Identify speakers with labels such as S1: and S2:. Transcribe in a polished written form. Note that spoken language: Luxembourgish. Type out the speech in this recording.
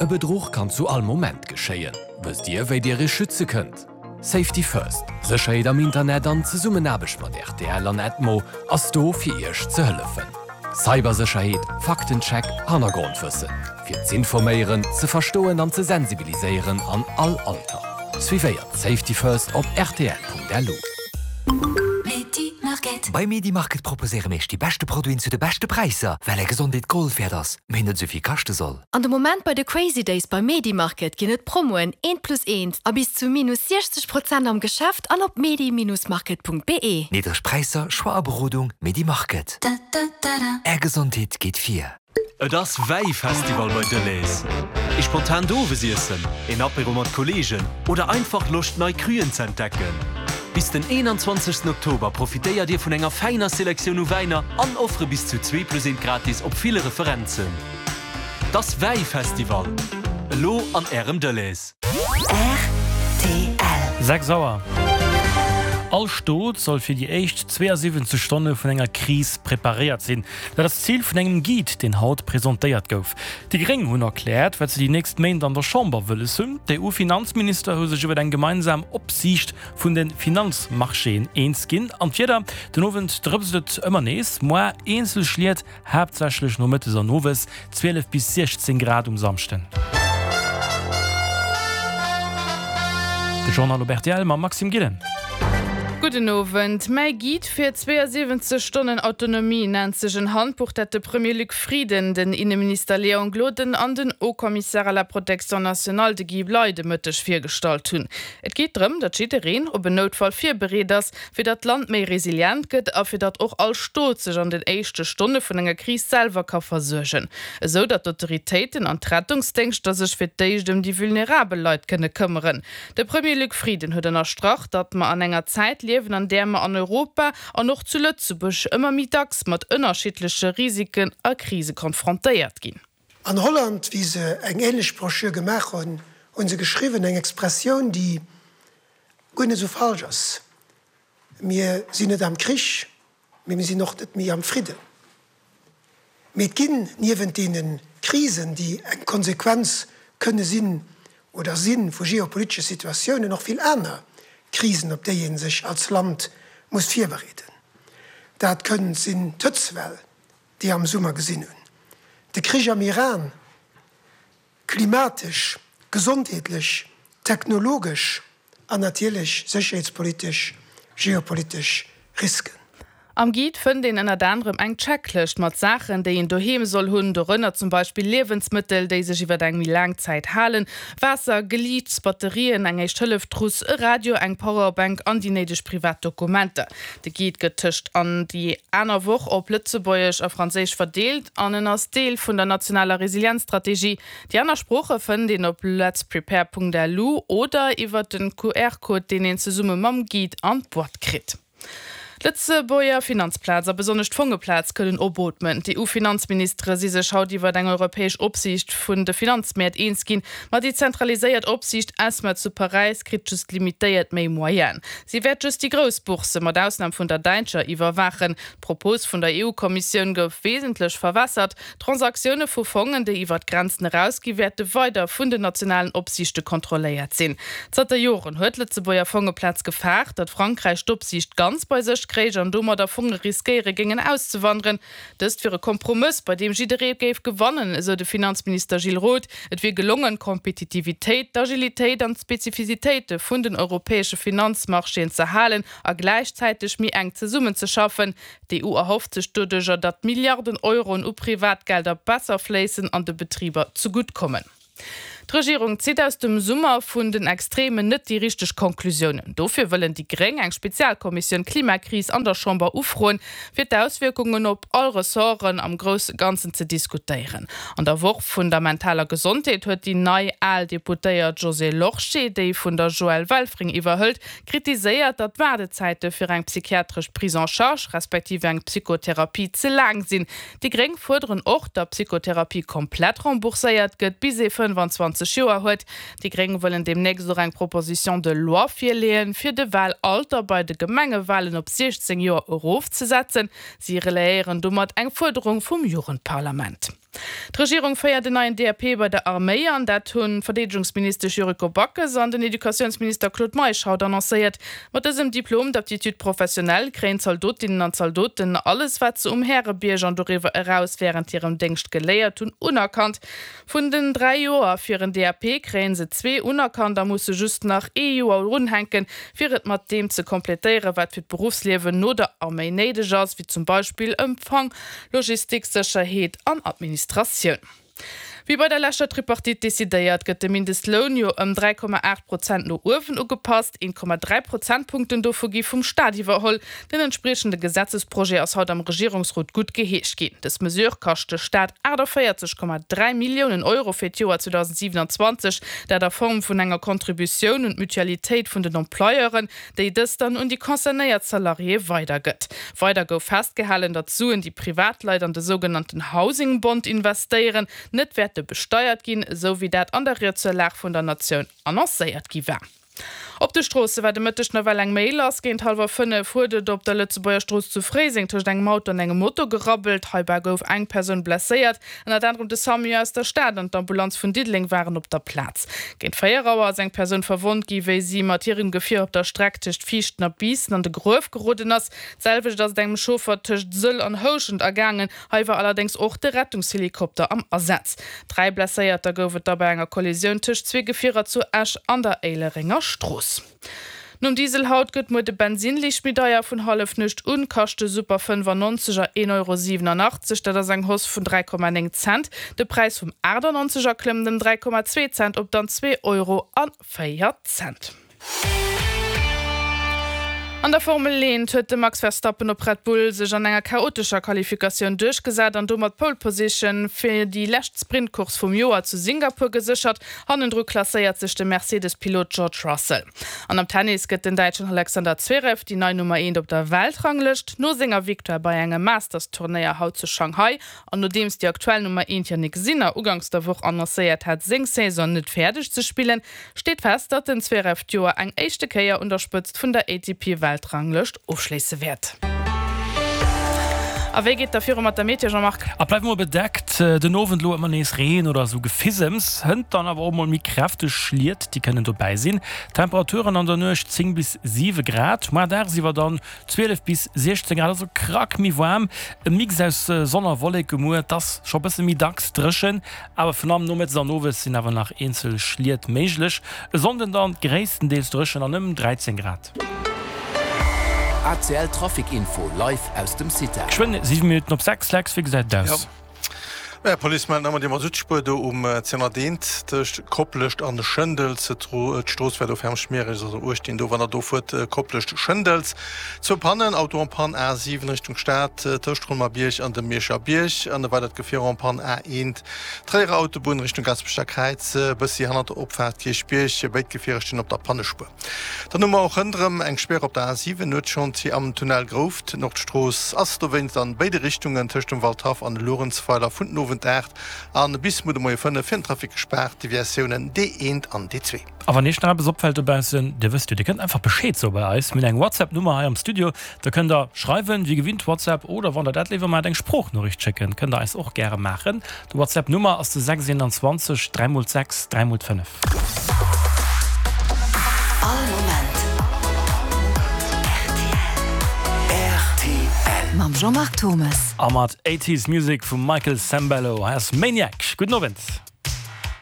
S1: E Bedruch kann zu all Moment geschéien. Wësst Dir, wéi Dir Iech schütze kënnt? Safety First, Sécherheet am Internet an Zesummenaarbecht mat rtl an Edmo ass do fir Iech ze hëllefen. Cybersécherheet, Faktencheck, Hannergrondwëssen. Fir z'informéieren, ze verstoen an ze sensibiliséieren an all Alter. Suivéiert Safety First op rtl.lu.
S2: Bei Medimarket proposéiere mir iech déi beschte Produiten zu de beschte Präisser, well är Gesondheet Gold wäert ass, mee net esou vill kaschte soll.
S3: An de Moment bei de Crazy Days bei Medimarket ginn et Promoen eent plus eent a bis zu minus 60 Prozent am Geschäft an op medi-market.be.
S2: Niddreg Präisser, Choix a Berodung, Medimarket. Är Gesondheet geet vir.
S4: Et ass Wäifestival bei Delhaize. Ee spontant Owesiessen, een Apéro mat Kolleegen oder einfach Loscht nei Cruen ze entdecken? Bis den 21 Oktober profitéiert Dir vun enger fäiner Selektioun u Wäiner an Offere bis zu zwee plus eent gratis op ville Referenzen. T'ass Wäifestival! Elo an Ärem Delhaize.
S5: Rtl. 6 Auer. All Stot soll fir déi éischt 72 Stonne vun enger Kris preparéiert sinn. Dat ass d'Zil vun engem Guide, deen haut presentéiert gouf. Déi Gréng hunn erkläert, wat se déi nächst Méint an der Chamber wëlles hunn. D'EU-Finanzminister hu sech iwwer eng gemeinsam Opsiicht vun de Finanzmarchéen eens ginn. An d'Wieder, Den Owend drëpst et ëmmer nees, moar eenzel Schliet, Haaptsächlech nomëttes an owes, 12 bis 16 Grad um Samschden. De Journal op rtl mam Maxime Gillen.
S6: Gudden Owend. Mäi Guide fir 72 Stonnen Autonomie nennt sech en Handbuch, dat de Premier Luc Frieden, den Inneminister Léon Gloden an den Haut-Commissaire à la protection nationale, de Guy Bley, de Mëtteg virgestallt hunn. Et geet drëm, datt jiddereen op en Noutfall virbereet ass, fir datt d'Land méi resilient gëtt a fir datt och all Stot sech an den éischte Stonne vun enger Kris selwer ka versuergen, esou datt d'Autoritéiten an d'Rettungsdéngschter sech fir d'éischt ëm déi vulnerabel Leit kënne këmmeren. De Premier Luc Frieden huet ënnerstrach, datt mer an enger Zäit liewen, an där mer an Europa an och zu Lëtzebuerg ëmmer méi dacks mat ënnerschiddleche Risiken a Krise konfrontéiert ginn.
S7: An Holland, wéi se eng ähnlech Broschür gemaach hunn, hu se geschriwwen, eng Expressioun, déi guer net esou falsch ass, Mir sinn net am Krich, mee mir sinn och net méi am Fridden. Mee et ginn niewent deene Krisen, déi eng Konsequenz kënne sinn oder si vu geopolitesche Situatiounen, och vill aner Krisen, op déi ee sech als Land muss virbereeden. Dat kënnt sinn d'Hëtztwell, déi am Summer gesinn hunn, de Krich am Iran, klimatesch, gesondheetlech, technologesch an natierlech sécherheetspolitesch, geopolitesch Risken.
S6: Am Guide fënnt een ënnert anerem eng Checklëscht mat Saachen, déi een doheem soll hunn, dorënner zum Beispill Liewensmëttel, déi sech iwwer eng méi laang Zäit halen, Waasser, Geliichts, Batterien, eng Éischt-Hëllef-Trousse, e Radio, eng Powerbank an déi néideg privat Dokumenter. De Guide gëtt tëscht an déi aner Woch op Lëtzebuergesch a Franséisch verdeelt an en ass Deel vun der nationaler Resilienzstrategie. Déi aner Sprooche fënnt een op letsprepare.lu oder iwwer den QR-Code, deen een zesumme mam Guide an d'Boîte kritt. D'Lëtzebuerger Finanzplaz a besonnesch d'Fongeplaz kënnen opootmen. D'EU-Finanzministere si sech haut iwwer eng europäesch Opsiicht vun de Finanzmäert eens ginn. Ma déi zentraliséiert Opsiicht ESMA zu Paräis kritt just limitéiert méi Moyenen. Si wäert just déi grouss Boursse, mat Ausnam vun der däitscher, iwwerwaachen. D'Propos vun der EU-Kommissioun gouf wesentlech verwässert. D'Transaktioune vu Fongen, déi iwwer d'Grenzen erausgi wäerte weider vun den nationalen Opsiichte kontrolléiert sinn. Zanter Joren huet d'Lëtzebuerger Fongeplaz gefaart, datt Frankräich d'Opsiicht ganz bei sech kréich an domadder Fonge riskéiere géingen auszewanderen. Dëst wier e Kompromëss, bei deem jidderee géif gewannen, esou de Finanzminister Gilles Roth. Et wier gelongen, d'Kompetitivitéit, d'Agilitéit an d'Spezifisitéite vun den europäesche Finanzmarchéen z'erhalen a gläichzäiteg méi enk zesummenzeschaffen. D'EU erhofft sech doduercher, datt Milliarden Euroen u Privatgelder besser fléissen an de Betriber zegutt kommen. D'Regierung zitt aus dem Summer vun den Extremen net déi richteg Konklusiounen. Dofir wëllen déi Gréng eng Spezialkommissioun Klimakris an der Chamber ufroen, fir d'Auswierkungen op all Ressorten am grousse Ganzen ze diskutéieren. An der Woch vun der mentaler Gesondheet huet déi nei al Deputéiert Josée Lorsché, déi vun der Joëlle Welfring iwwerhëlt, kritiséiert, datt d'Waardezäite fir eng psychiatresch Prise en charge respektiv eng Psychotherapie ze laang sinn. Déi Gréng fuerderen och, datt d'Psychotherapie komplett rembourséiert gëtt, bis ee 25 Joer huet. Déi Gréng wëllen deemnächst och eng Proposition de loi virleeën, fir de Wahlalter bei de Gemengewahlen op 16 Joer erofzesetzen. Si relayéieren domat eng Fuerderung vum Jugendparlament. D'Regierung féiert en neien DAP bei der Arméi an. Dat hunn d'Verdeedegungsministesch Yuriko Backes an den Educatiounsminister Claude Meisch haut annoncéiert. Mat dësem Diplôme d'aptitude professionnelle kréien d'Zaldotinnen an d'Zaldoten alles, wat se um Härebierg an doriwwer eraus wärend hirem Déngscht geléiert hunn, unerkannt. Vun den 3 Joer fir en DAP kréien se zwee unerkannt a musse just nach ee Joer drunhänken, fir et mat deem ze kompletéieren, wat fir d'Beruffsliewen no der Arméi néideg ass, wéi zum Beispill Empfang, Logistik, Sécherheet an Administratioun. Wéi bei der leschter Tripartite decidéiert, gëtt de Mindestloun jo ëm 3,8 Prozent no uewen ugepasst. 1,3 Prozentpunkten dovu gi vum Staat iwwerholl. Den entspriechende Gesetzesprojet ass haut am Regierungsrot guttgeheescht ginn. Dës Mesure kascht de Staat 48,3 Milliounen Euro fir d'Joer 2027, dat a Form vun enger Contributioun un d'Mutualitéit vun den Employeuren, déi dës dann un déi concernéiert Salariéë weidergëtt. Weider gouf festgehalen, datt d'Suen, déi Privatleit an de sougenannten Housing Bond investéieren, net wäerte besteiert ginn, esou wéi dat an der Ried zur Lag vun der Natioun annoncéiert gi war. Op de Stroosse war de Mëtteg nawell eng Méi lass. Géint hallwer 5 huet et op der Lëtzebuerger Strooss zu Fréiseng tëscht engem Auto an engem Moto gerabbelt. Heibäi gouf eng Persoun blesséiert. Ënnert anerem de Samu aus der Stad an d'Ambulanz vun Diddeleng waren op der Plaz. Géint 4 Auer ass eng Persoun verwonnt gi wéi si mat hirem Gefier op der Streck tëscht Viichten a Biissen an de Gruef geroden ass. D'selwecht ass et engem Chauffer tëscht Sëll an Houschent ergaangen. Hei war allerdéngs och de Rettungshelikopter am Asaz. 3 Blesséierter gouf et da bei enger Kollisioun tëscht zwee Gefierer zu Esch an der Éilerenger Strooss. Nom Diesel haut gëtt muer de Bensinn liicht méi deier. Vun Hallefnuecht un kascht de Super 95 er 1,87 Euro, dat ass eng Hausse vun 3,9 Cent. De Präis vum 98 er klëmmt ëm 3,2 Cent op dann 2 Euro a 4 Cent. An der Formel 1 huet de Max Verstappen op Red Bull sech an enger chaotescher Qualifikatioun duerchgesat an domat d'Pole Position fir déi lescht Sprintcourse vum Joer zu Singapur geséchert. Hannendru klasséiert sech de Mercedes-Pilot George Russell. An am Tennis gëtt den Däitschen Alexander Zverev déi nei Nummer Eent op der Weltranglëscht. No senger Victoire bei engem Masters-Turnéier haut zu Shanghai an nodeems déi aktuell Nummer Eent Jannik Sinner uganks der Woch annoncéiert hat, seng Saison net fäerdeg ze spillen, steet fest, datt den Zverev d'Joer eng éischte Kéier un der Spëtzt vun der ATP-Weltranglëscht ofschléisse wäert. A wéi geet da viru mat der Meteo, Jean-Marc?
S5: Et bleift mol bedeckt, den Owend elo ëmmer nees Reen oder esou Gefisems, hënt dann awer och mol méi kräfteg Schliet, déi kënnen dobäi sinn. Temperaturen an der Nuecht 10 bis 7 Grad, moar dagsiwwer dann 12 bis 16 Grad, also krack méi waarm. E Mix aus Sonn a Wolleke muer, et ass scho bësse méi dacks dréchen, awer virun allem nomëttes an owes sinn awer nach eenzel Schliet méiglech. E Sonnden dann gréisstendeels dréchen an ëm 13 Grad.
S1: ACL Trafic Info live aus dem CITA.
S5: Geschwënn 7 Minutten op 6, Lex, wéi gesäit et aus?
S8: Maja, d'Police mellt nach ëmmer déi Masuttspuer do um 201 tëscht Koplescht an Schëndels. D'Strooss war do ferm schmiereg, also uecht deen do, wann der do fuert, Koplescht, Schëndels. Zwou Pannen, Auto en panne A7 Richtung Stad tëscht Colmar-Bierg an dem Mierscher Bierg an e weidert Gefier en panne A1 Tréierer Autobunn Richtung Gaasperecher Kräiz, bëssi hannert der Opfaart Kierchbierg. Béid Gefierer stinn op der Pannespuer. Dann hu mer och ronderëm eng Späre op der A7, Nuetschantier am Tunnel Grouft. D'Nordstrooss ass dowéinst an béide Richtungen tëscht dem Waldhaff an Luerenzweiler vun den Owend 8 an bis muer de Moie 5 fir den Trafic gespaart, Deviatiounen D1 an D2.
S5: A wann Iech nach eppes opfält dobaussen, Dir wësst jo, Dir kënnt einfach Bescheed soe bei eis. Mir hunn eng WhatsApp-Nummer hei am Studio, da kënnt der schreiwen, wéi gewinnt WhatsApp, oder wann der dat léiwer maacht, eng Sproochnoriicht schécken, kënnt der eis och gäre maachen. De WhatsApp Nummer ass de 6 21 3 mol 6 3 mol 5.
S1: All Moment rtl. Mam Jean-Marc Thomes.
S5: A mat 80s Music vum Michael Sembello. Hei ass Maniac. Gudden Owend.